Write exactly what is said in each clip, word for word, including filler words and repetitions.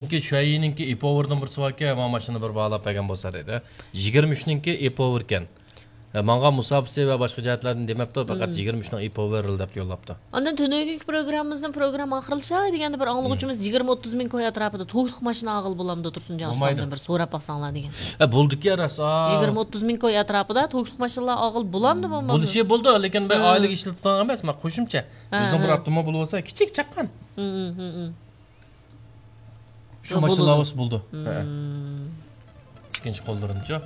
شۇەييىنىڭكى ئېپوۋېردىن بىرسى باركەن، مانا ماشىنىنى بىر باھالاپ بەرگەن بولسا دەيدۇ. يىگىرمە ئۈچنىڭكى ئېپوۋېركەن. ئە، ماڭغان مۇساپىسى ۋە باشقا جەھەتلەردىن دېمەپتۇ، پەقەت يىگىرمە ئۈچنىڭ ئېپوۋېرىل دەپ يوللاپتۇ. ئاندىن تۈنۈگۈنكى پروگراممىمىزنىڭ پروگرامما ئاخىرلىشاي دېگەندە بىر ئاڭلىغۇچىمىز يىگىرمە ئوتتۇز مىڭ كوي ئەتراپىدا توكلۇق ماشىنا ئالغىلى بولامدۇ تۇرسۇنجان ئۇستامدىن بىر سوراپ باقساڭلار دېگەن. ئە، بولدىكەن راست. يىگىرمە ئوتتۇز مىڭ كوي ئەتراپىدا توكلۇق ماشىنىلار ئالغىلى بولامدۇ بولمامدۇ؟ بولۇشى بولىدۇ، لېكىن مەن ئائىلىگە ئىشلىتىدىغان ئەمەس، مەن قوشۇمچە. ئۆزىنىڭ بىر ئاپتوموبىلى بولسا، كىچىك چاققان. شۇ ماشىنىلار بولسا بولىدۇ. ھە. ئىككىنچى قوللىرىنىچۇ؟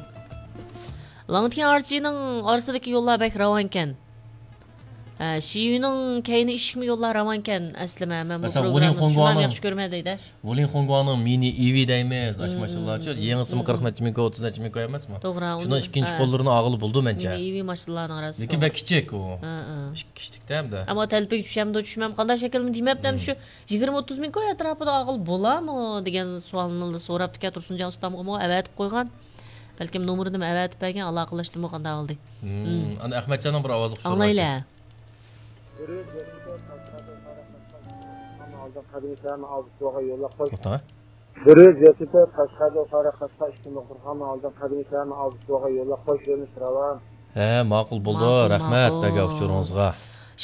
لىڭتيەن ئارچىنىڭ ئارىسىدىكى يوللار بەك راۋانكەن. ھە، شىيۈنىڭ كەينى ئىشىكمۇ يوللار راۋانكەن ئەسلىمە. مەن بۇ پروگراممىنى شۇنداق ياخشى كۆرمەيدۇ دەيدۇ. ۋۇلىڭ خۇڭگۇاڭنىڭ مىنى ئىۋى دەيمىز، ئاشۇ ماشىنىلارچۇ؟ يېڭىسىمۇ قىرىق نەچچە مىڭ كوي، ئوتتۇز نەچچە مىڭ كوي ئەمەسمۇ؟ توغرا. شۇنىڭ ئىككىنچى قوللىرىنى ئالغىلى بولىدۇ مەنچە. مىنى ئىۋى ماشىنىلارنىڭ ئارىسىدا. لېكىن بەك كىچىك ئۇ. ھە، ھە. ئىككى كىشىلىكتە ھەمدە. ئەمما تەلپىگە چۈشەمدۇ، چۈشمەم، قانداق شەكىلمۇ دېمەپتۇ، ھەم شۇ يىگىرمە ئوتتۇز مىڭ كوي ئەتراپىدا ئالغىلى بولامۇ دېگەن سوئالنى سوراپتىكەن تۇرسۇنجان ئۇستامغىمۇ ئەۋەتىپ قويغان. بەلكىم نومۇرىنىمۇ ئەۋەتىپ بەرگەن، ئالاقىلەشتىمۇ قانداق بولدى؟ ئانا ئەخمەتجاننىڭ بىر ئاۋازلىق ئۇچۇرى بار ئاڭلايلى. بىر يۈز يەتتە تۆت قەشقەردىن قارا قاشقا ئىككى نۇقتىغا يوللاپ قوي. بىر يۈز يەتتە تۆت قەشقەردىن قارا قاشقا ئىككى نۇقتىغا ئالدىن قەدىمىي شەھەرنىڭ ئالدىسىغا بارغان يوللۇق قوش يۆنىلىش راۋان. ھە، ماقۇل بولدى. ماقۇل، رەھمەت ماقۇل. بەرگەن ئۇچۇرىڭىزغا.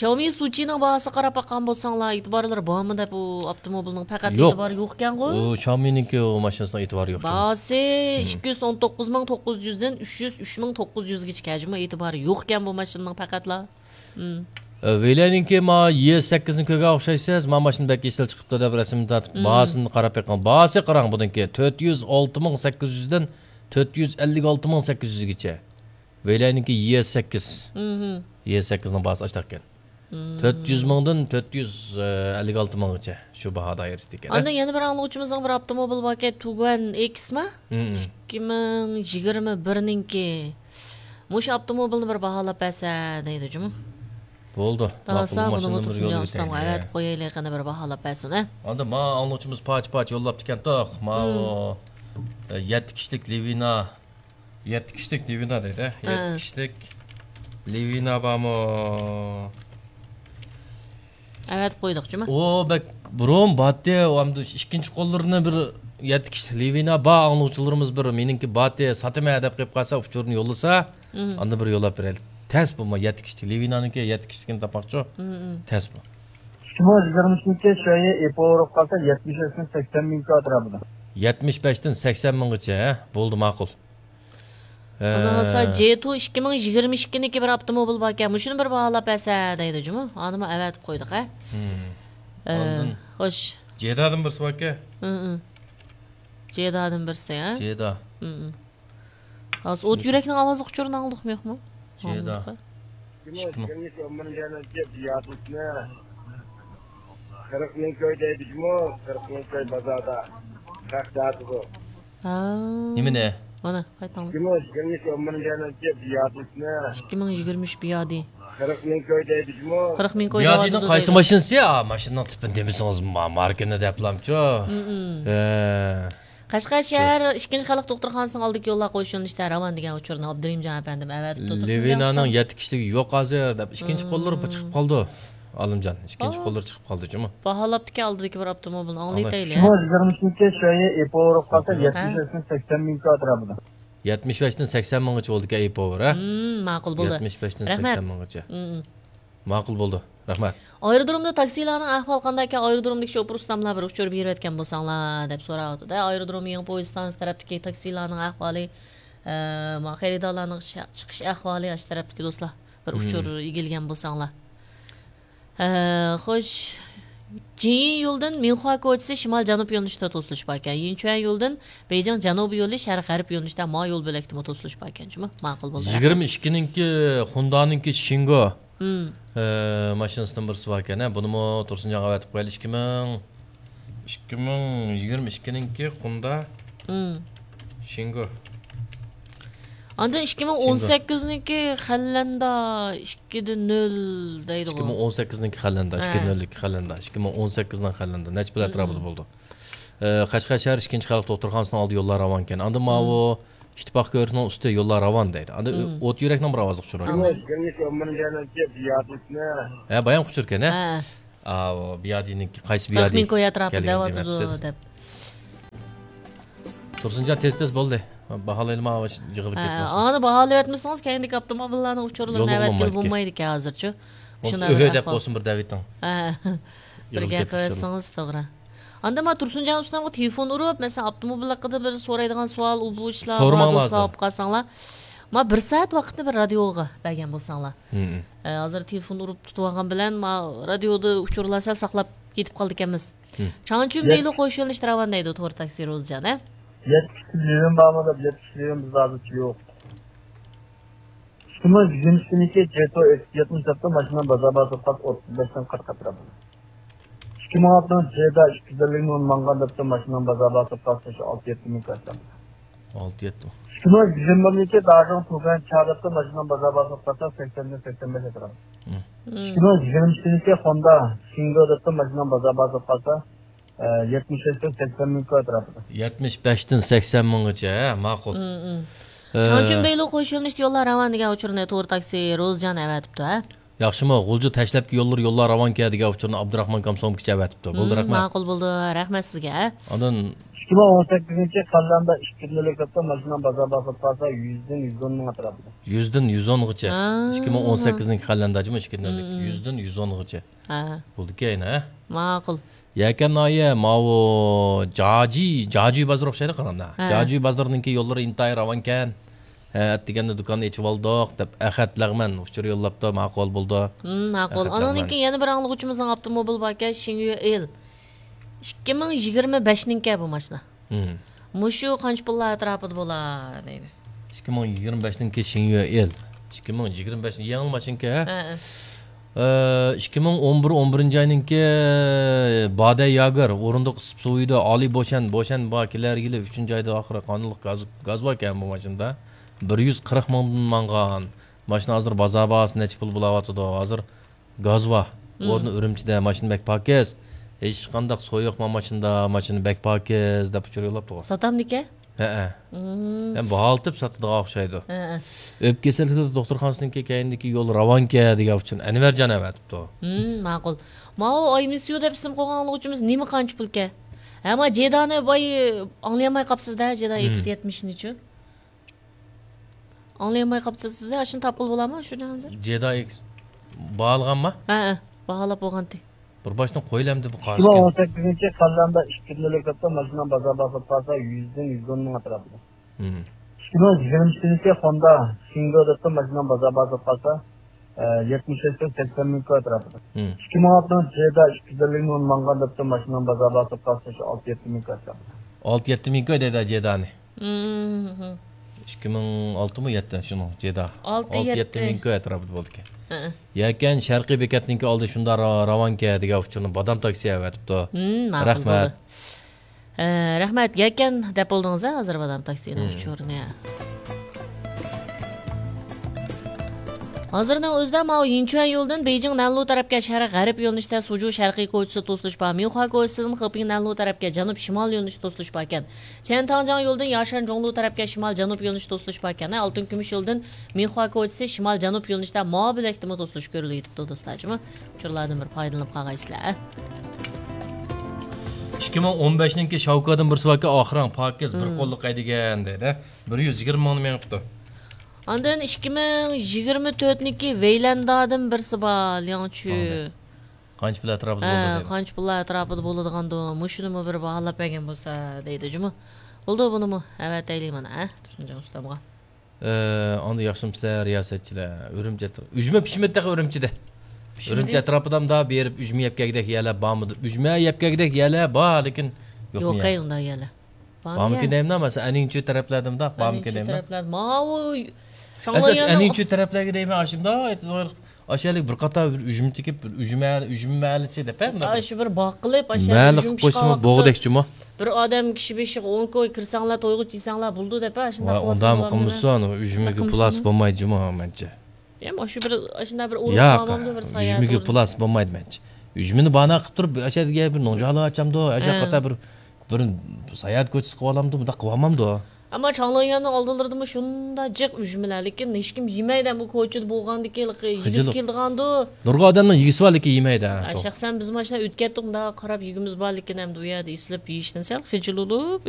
شاۋمى سۇچىنىڭ باھاسىغا قاراپ باققان بولساڭلار، ئېتىبارلىرى بارمۇ دەپ، ئۇ ئاپتوموبىلنىڭ پەقەت يوق. ئېتىبارى يوقكەنغۇ؟ ئۇ شاۋمىنىڭكى ئۇ ماشىنىسىنىڭ ئېتىبارى يوق. باھاسى ئىككى يۈز ئون توققۇز مىڭ توققۇز يۈزدىن ئۈچ يۈز ئۈچ مىڭ توققۇز يۈزگىچە، جۇمۇ ئېتىبارى يوقكەن بۇ ماشىنىنىڭ پەقەتلا. مم. ئە، ۋېيلەننىڭكى ما يې سەككىزنى كۆرگەن ئوخشايسىز، ما ماشىنا بەك ئېسىل چىقىپتۇ دەپ رەسىمنى تارتىپ، مم. باھاسىنى قاراپ بېقىڭ. باھاسى قاراڭ بۇنىڭكى، تۆت يۈز ئالتە مىڭ سەككىز يۈزدىن تۆت يۈز ئەللىك ئالتە مىڭ سەككىز يۈزگىچە. ۋېيلەننىڭكى يې سەككىز. مم. يې سەككىزنىڭ باھاسى ئاشتاقكەن. مم. تۆت يۈز مىڭدىن تۆت يۈز ئەللىك ئالتە مىڭغىچە شۇ باھا دائىرىسىدىكەن. ئاندىن يەنە بىر ئاڭلىغۇچىمىزنىڭ بىر ئاپتوموبىلى باركەن، تۇگۇەن ئېكسما؟ مم. ئىككى مىڭ يىگىرمە بىرنىڭكى. مۇشۇ ئاپتوموبىلنى بىر باھالاپ بەرسە دەيدۇ جۇمۇ. بولدى. دالاسا بۇنىمۇ تۇرسۇنجان ئۇستامغا ئەۋەتىپ قويايلى، قېنى بىر باھالاپ بەرسۇن، ھە؟ ئاندىن ما ئاڭلىغۇچىمىز پاچ-پاچ يوللاپتىكەنتۇق. ماۋۇ، مم. ئە، يەتتە كىشىلىك لىۋىنا. يەتتە كىشىلىك لىۋىنا دەيدۇ. ھە. يەتتە كىشىلىك لىۋىنا بارمۇ؟ ئەۋەتىپ قويدۇق جۇمۇ. ئۇ بەك بۇرۇن باتتى، ئۇ ئەمدى ئىككىنچى قوللىرىنى بىر يەتتە كىشىلىك لىۋىنا بار، ئاڭلىغۇچىلىرىمىز بىر مېنىڭكى باتتى ساتىمەن دەپ قېلىپ قالسا، ئۇچۇرنى يوللىسا، مم. ئاندىن بىر يوللاپ بېرەيلى. تەس بۇمۇ يەتتە كىشىلىك لىۋىنانىڭكى يەتتە كىشىلىكىنى تاپماقچۇ. مم، مم. تەس بۇ. ئىككى مىڭ يىگىرمە ئۈچىنچى شۇ يىل ئېپو ئۇرۇپ قالسا، يەتمىش بەشتىن سەكسەن مىڭ ئەتراپىدا. يەتمىش بەشتىن سەكسەن مىڭغىچە، ھە؟ بولدى، ماقۇل. ھە. ئۇنىڭ بولسا جې تۇ ئىككى مىڭ يىگىرمە ئىككىنىڭكى بىر ئاپتوموبىل باركەن، مۇشۇنى بىر باھالاپ بەرسە دەيدۇ جۇمۇ. ئانىمۇ ئەۋەتىپ قويدۇق، ھە؟ مم. ئە، ئاندىن خوش. جېدادىن بىرسى باركەن. مم، مم. جېدادىن بىرسى، ھە؟ جېدا. مم، مم. ھازىر ئوت يۈرەكنىڭ ئاۋازلىق ئۇچۇرىنى ئاڭلىدۇقمۇ، يوقمۇ؟ جېدا. ئاڭلىدۇق، ھە؟ ئىككى مىڭ. قىرىق مىڭ كوي دەيدۇ جۇمۇ، قىرىق مىڭ كوي بازاردا. خەق دەۋاتىدۇ. ھا. نېمىنى؟ مانا، قايتاڭ. ئىككى مىڭ يىگىرمە ئۈچ بىيادى. قىرىق مىڭ كوي دەيدۇ جۇمۇ. قىرىق مىڭ كوي دەۋاتىدۇ دەيدۇ. بىيادىنىڭ قايسى ماشىنىسى؟ ئا، ماشىنىنىڭ تىپىنى دېمىسىڭىز، ما-، ماركىنى دەپلامچۇ؟ مم، مم. ھە. قەشقەر شەھەر ئىككىنچى خەلق دوختۇرخانىسىنىڭ ئالدىدىكى يوللار قوش يۆنىلىشتە راۋان دېگەن ئۇچۇرنى ئابدۇرېھىمجان ئەپەندىم ئەۋەتىپتۇ. لىۋىنانىڭ يەتتە كىشىلىكى يوق ھازىر دەپ، ئىككىنچى قوللىرى چىقىپ قالدى. ئالىمجان، ئىككىنچى قوللىرى چىقىپ قالدى جۇمۇ. باھالاپتىكەن ئالدىدىكى بىر ئاپتوموبىلنى، ئاڭلايتەيلى. ئىككى مىڭ يىگىرمە ئۈچىنچى شۇ يىل ئېپو ئۇرۇپ قالسا، يەتمىش بەشتىن سەكسەن مىڭ ئەتراپىدا. يەتمىش بەشتىن سەكسەن مىڭغىچە بولىدىكەن ئېپو بىر، ھە؟ مم، ماقۇل بولدى. يەتمىش بەشتىن سەكسەن مىڭغىچە. مم. ماقۇل بولدى. رەھمەت. ئايرودرومدا تاكسىلارنىڭ ئەھۋالى قانداق ئىكەن؟ ئايرودرومدىكى شوپۇر ئۇستاملار بىر ئۇچۇر بېرىۋەتكەن بولساڭلار دەپ سوراۋاتىدۇ. ئايرودروم يېڭى پويىز ستانسىسى تەرەپتىكى تاكسىلارنىڭ ئەھۋالى، ئە، ما خېرىدارلارنىڭ شا-، چىقىش ئەھۋالى ئاشۇ تەرەپتىكى دوستلار بىر ئۇچۇر ئىگىلىگەن بولساڭلار. ئە، خوش. جىنيى يولىدىن مىنخۇا كوچىسى شىمال جەنۇب يۆنىلىشىدە توسۇلۇش باركەن. يىنچۈەن يولىدىن بېيجىڭ جەنۇبىي يولى شەرق غەرب يۆنىلىشىدە ما يول بۆلەكتىمۇ توسۇلۇش باركەن. جۇمۇ، ماقۇل بولدى. يىگىرمە ئىككىنىڭكى خۇندانىڭكى شىنگو. مم. ئە، ماشىنىسىدىن بىرسى باركەن، ھە، بۇنىمۇ تۇرسۇنجانغا ئەۋەتىپ قويايلى. ئىككى مىڭ، ئىككى مىڭ يىگىرمە ئىككىنىڭكى خۇندا. مم. شىنگو. ئاندىن ئىككى مىڭ ئون سەككىزنىڭكى خەللەندا ئىككىدە نۆل دەيدىغۇ. ئىككى مىڭ ئون سەككىزنىڭكى خەللەندا، ھە. ئىككىدە نۆللۈك خەللەندا، ئىككى مىڭ ئون سەككىزنىڭ خەللەندا. نەچچە پۇل ئەتراپىدا بولىدۇ. ئە، قەشقەر شەھەر ئىككىنچى خەلق دوختۇرخانىسىنىڭ ئالدى يوللار راۋانكەن. ئاندىن ماۋۇ ئىتتىپاق كۆۋرۈكنىڭ ئۈستى يوللار راۋان دەيدۇ. ئاندىن ئوت يۈرەكنىڭ بىر ئاۋازلىق ئۇچۇرى باركەن. ھە، بايام ئۇچۇركەن، ھە؟ ھە. ئاۋۇ بىيادىنىڭكى قايسى بىيادى؟ قىرىق مىڭ كوي ئەتراپىدا دەۋاتىدۇ دەپ. تۇرسۇنجان تېز-تېز بولدى. باھالايلىما يىغىلىپ ھە، كەتمەسۇن. ئانى باھالىۋەتمىسىڭىز، كەينىدىكى ئاپتوموبىللارنىڭ ئۇچۇرلىرىنى يولغا ئەۋەتكىلى بولمايدىكەن. بولمايدىكەن ھازىرچۇ. شۇنداق بىر ئۆھۆ دەپ ئەھۋال. بولسۇن بىر دەۋېتىڭ. ھە. بىر يىغىلىپ گەپ كەتمەسۇن. قىلسىڭىز توغرا. ئاندا ما تۇرسۇنجان ئۇستامغا تېلېفون ئۇرۇپ، مەسىلەن، ئاپتوموبىل ھەققىدە بىر سورايدىغان سوئال، ئۇ بۇ ئىشلار بار، سورىماڭلار دوستلار ھازىر. بولۇپ قالساڭلار. ما بىر سائەت ۋاقىتنى بىر رادىيوغا بەرگەن بولساڭلار. ھە، ھازىر تېلېفون ئۇرۇپ تۇتۇۋالغان بىلەن، ما رادىيودا ئۇچۇرلار سەل ساقلاپ كېتىپ قالىدىكەنمىز. چاڭچۈن بېيلۇ قوشۇن ئىشتىراۋان دەيدۇ تور تاكسى روزىجان، ھە؟ يەتمىش ليۈەن بارمۇ دەپ، يەتمىش ليۈەن بىزدە ھازىرچە يوق. ئىككى مىڭ يىگىرمە ئىككىنچى يىلى جېتو ئېكس يەتمىش دەپتۇ، ماشىنىنىڭ بازار باھاسى پاس ئوتتۇز بەشتىن قىرىق ئەتراپىدا. ئىككى مىڭ ئالتىنچى يىلى جېدا ئىككى يۈز ئەللىك مىڭ ماڭغان دەپتۇ، ماشىنىنىڭ بازار باھاسى پاس ئالتە يەتتە مىڭ ئەتراپىدا. ئالتە يەتتە. ئىككى مىڭ يىگىرمە بىرىنچى يىلى داژىڭ تۇگەن چا دەپتۇ، ماشىنىنىڭ بازار باھاسى پاس سەكسەندىن سەكسەن بەش ئەتراپىدا. ئىككى مىڭ يىگىرمە ئىككىنچى يىلى خوندا شىڭدو دەپتۇ، ماشىنىنىڭ بازار باھاسى پاس، ئە، يەتمىش بەشتىن سەكسەن مىڭ ئەتراپىدا. يەتمىش بەشتىن سەكسەن مىڭغىچە، ھە، ماقۇل. ئە، چاڭچۈن بېيلۇ قوشۇن ئىشتى يوللار راۋان دېگەن ئۇچۇرنى تور تاكسى روزىجان ئەۋەتىپتۇ، ھە؟ ياخشىمۇ، غۇلجا تەشلەپكى يوللىرى يوللار راۋانكەن دېگەن ئۇچۇرنى ئابدۇراخمان كامسومكىچە ئەۋەتىپتۇ. بولدى، رەھمەت. ماقۇل بولدى، رەھمەت سىزگە. ئاندىن ئىككى مىڭ ئون سەككىزىنچى يىلى قەلەمدە ئىككى يۈز ئەللىك ئەتراپىدا ماشىنىنىڭ بازار باھاسى پاس يۈزدىن يۈز ئون مىڭ ئەتراپىدا. يۈزدىن يۈز ئونغىچە. ھە. ئىككى مىڭ ئون سەككىزنىڭكى قەلەمدە جۇمۇ ئىككى يۈز ئەللىك. يۈزدىن يۈز ئونغىچە. ھە. بولدىكەن، ھە؟ ماقۇل. يەكەن ناھىيە، ماۋۇ جاجى، جاجى بازىرى ئوخشايدۇ، قارامدا. ھە. جاجى بازىرىنىڭكى يوللىرى ئىنتايىن راۋانكەن. ھە، ئەتىگەندە دۇكاننى ئېچىۋالدۇق، دەپ ئەخەت لەغمەن ئۇچۇر يوللاپتۇ، ماقۇل بولدى. ھىم، ماقۇل. ئەخەت لەغمەن. ئانىڭدىن كېيىن يەنە بىر ئاڭلىغۇچىمىزنىڭ ئاپتوموبىلى باركەن، شىڭيۈ ئېل. ئىككى مىڭ يىگىرمە بەشنىڭكى بۇ ماشىنا. ھىم. مۇشۇ قانچە پۇللار ئەتراپىدا بولا دەيدۇ. ئىككى مىڭ يىگىرمە بەشنىڭكى شىڭيۈ ئېل. ئىككى مىڭ يىگىرمە بەش يېڭى ماشىنىكەن، ھە؟ ھە، ھە. ئىككى مىڭ ئون بىر، ئون بىرىنچى ئاينىڭكى بادەي ياگېر، ئورۇندۇق ئىسسىپ سۇيىدۇ، ئالى بوشەن، بوشەن بار، كېلەر يىلى ئۈچىنچى ئايدا ئاخىرى قانۇنلۇق گاز، گاز باركەن بۇ ماشىنىدا. بىر يۈز قىرىق مىڭدىن ماڭغان. ماشىنا ھازىر بازار باھاسى نەچچە پۇل بولاۋاتىدۇ؟ ھازىر گاز بار. ھىم. ئورنى ئۈرۈمچىدە، ماشىنا بەك پاكىز. ھېچقانداق سۇ يوق ما ماشىنىدا، ماشىنا بەك پاكىز، دەپ ئۇچۇر يوللاپتىغۇ. ساتامدىكەن؟ ھەئە. ھىم. ھەم باھالىتىپ ساتىدىغان ئوخشايدۇ. ھەئە. ئۆپكە كېسەللىكلىرى دوختۇرخانىسىنىڭكى كەينىدىكى يول راۋانكەن دېگەن ئۈچۈن ئەنۋەرجان ئەۋەتىپتۇ. ھىم، ماقۇل. ماۋۇ ئاي مىس يۇ دەپ ئىسىم قويغان ئاڭلىغۇچىمىز نېمە قانچە پۇلكەن؟ ھە، ما جېدانى باي ئاڭلىيالماي قاپسىز-دە، جېدا ھىم. ئېكس يەتمىشنىچۇ؟ ئاڭلىيالماي قاپتىسىز-دە، ئاشۇنى تاپقىلى بولامۇ شۇ ھازىر؟ جېدا ئېكس باھالىغانما؟ ھەئە، باھالاپ بولغانتى. بىر باشتىن قويلامدى بۇ ئىككى مىڭ ئون سەككىزىنچى يىلى قەلەمدە ئىككى يۈز ئەللىك ئەتراپىدا ماشىنىنىڭ بازار باھاسى پاس يۈزدىن يۈز ئون مىڭ ئەتراپىدا. ھىم. ئىككى مىڭ يىگىرمە ئىككىنچى يىلى خوندا شىڭدو دەپتۇ، ماشىنىنىڭ بازار باھاسى پاس، ئە، يەتمىش بەشتىن سەكسەن مىڭ ئەتراپىدا. ھىم. ئىككى مىڭ ئالتىنچى يىلى جېدا ئىككى يۈز ئەللىك مىڭ ماڭغان دەپتۇ، ماشىنىنىڭ بازار باھاسى پاس ئالتە يەتتە مىڭ ئەتراپىدا. ئالتە يەتتە مىڭ دەيدۇ جېدانى. مم. ئىككى مىڭ ئالتىمۇ يەتتە شۇنىڭ جېدا. ئالتە، ئالتە يەتتە. يەتتە مىڭ ئەتراپىدا بولىدىكەن. ھە. يەكەن شەرقىي بېكەتنىڭكى ئالدى شۇنداق را-، راۋانكەن دېگەن ئۇچۇرنى بادام تاكسى ئەۋەتىپتۇ. مم، ماقۇل رەھمەت. بولدى. ھە، رەھمەت. يەكەن دەپ بولدىڭىز ھە ھازىر بادام تاكسىنىڭ مم. ئۇچۇرىنى. ھازىرنىڭ ئۆزىدە ماۋۇ يىنچۈەن يولىدىن بېيجىڭ نەنلۇ تەرەپكە شەرق غەرب يۆنىلىشتە سۇجۇ شەرقىي كوچىسى توسۇلۇش بار. مىڭخۇا كوچىسىدىن خېپىڭ نەنلۇ تەرەپكە جەنۇب شىمال يۆنىلىشى توسۇلۇش باركەن. چيەنتاڭجياڭ يولىدىن ياشەن جۇڭلۇ تەرەپكە شىمال جەنۇب يۆنىلىشى توسۇلۇش باركەن. ئالتۇن كۈمۈش يولىدىن مىڭخۇا كوچىسى شىمال جەنۇب يۆنىلىشتە ماۋۇ بۆلەكتىمۇ توسۇلۇش كۆرۈلۈۋېتىپتۇ دوستلار جۇمۇ. ئۇچۇرلاردىن بىر پايدىلىنىپ قالغايسىلەر. ئىككى مىڭ ئون بەشنىڭكى شاۋكادىن بىرسى باركەن، ئاخىرىڭ پاكىز، بىر مم. قوللۇق ھەيدىگەن دەيدۇ. بىر يۈز يىگىرمە مىڭنى مېڭىپتۇ. ئاندىن ئىككى مىڭ يىگىرمە تۆتنىڭكى ۋەيلەندادىن بىرسى بار، لياڭچۈ. قانچە پۇل ئەتراپىدا ھە، بولىدۇ دەيدۇ. قانچە پۇللار ئەتراپىدا بولىدىغاندۇ؟ مۇشۇنىمۇ بىر باھالاپ بەرگەن بولسا دەيدۇ جۇمۇ. بولدى، بۇنىمۇ ئەۋەتەيلى مانا، ھە، تۇرسۇنجان ئۇستامغا. ئە، ئاندىن ياخشىمۇسىلەر رىياسەتچىلەر؟ ئۈرۈمچى ئەترا-، ئۈجمە پىشمىدى تېخى ئۈرۈمچىدە. پىشمىدى؟ ئۈرۈمچى ئەتراپىدا مۇنداق بېرىپ ئۈجمە يەپ كەلگۈدەك يەرلەر بارمىدى؟ ئۈجمە يەپ كەلگۈدەك يەرلەر بار، لېكىن يوق يوق نىيە. ئەي، ئۇنداق يەرلەر. بارمىكىن دەيمەن، مەسىلەن، ئەنيىڭچۈ تەرەپلەردە مۇنداق بارمىكىن دەيمەن. تەرەپلەردە. ماۋۇ ئەسلى شاڭلاياننىڭ ئەنيىڭچۈ تەرەپلەرگە دەيمەن، ئاشۇنداق ئاشۇ بىر قاتار بىر ئۈجمە تىكىپ، بىر ئۈجمە، ئۈجمە مەھەللىسى دەپ، ھە، مۇنداق ئاشۇ بىر باغ قىلىپ، ئاشۇ مەھەللە قىلىپ قويسىمۇ بولغۇدەك جۇمۇ. بىر ئادەم كىشى بېشىغا ئون كوي، كىرسەڭلار تويغۇچە يېسەڭلار بولىدۇ دەپ، ئاشۇنداق ۋاي، ئۇنداقمۇ قىلمىسۇن، ئۈجمىگە پۇلاسى بولمايدۇ جۇمۇ، مەنچە. يا، مۇشۇ بىر، ئاشۇنداق بىر ئۇرۇق ياق، تامامدۇ بىر ساياھەت ئۈجمىگە ئورنى. پۇلاسى بولمايدۇ، مەنچە. ئۈجمىنى باناق قىلىپ تۇرۇپ، ئاشۇ يەرگە بىر نوجالا ئاچامدۇ، ئاشۇ قاتار بىر بىر ساياھەت كوچىسى قىلىۋالامدۇ، مۇنداق قىلىۋالمامدۇ؟ ئەمما چاڭلىيۈەننىڭ ئالدىلىرىدىمۇ شۇنداق جىق ئۈجمىلەر، لېكىن ھېچكىم يېمەيدۇ، بۇ كوچىدا بولغاندىكىن يېگۈسى كېلىدىغاندۇ. نۇرغۇن ئادەمنىڭ يېگۈسى بار، لېكىن يېمەيدۇ. ھە، شەخسەن بىز ماشۇنداق ئۆتكەتتۇق، مۇنداق قاراپ يېگۈمىز بار، لېكىن ئەمدى ئۇ يەردە ئېسىلىپ يېيىشتىن سەل خىجىل بولۇپ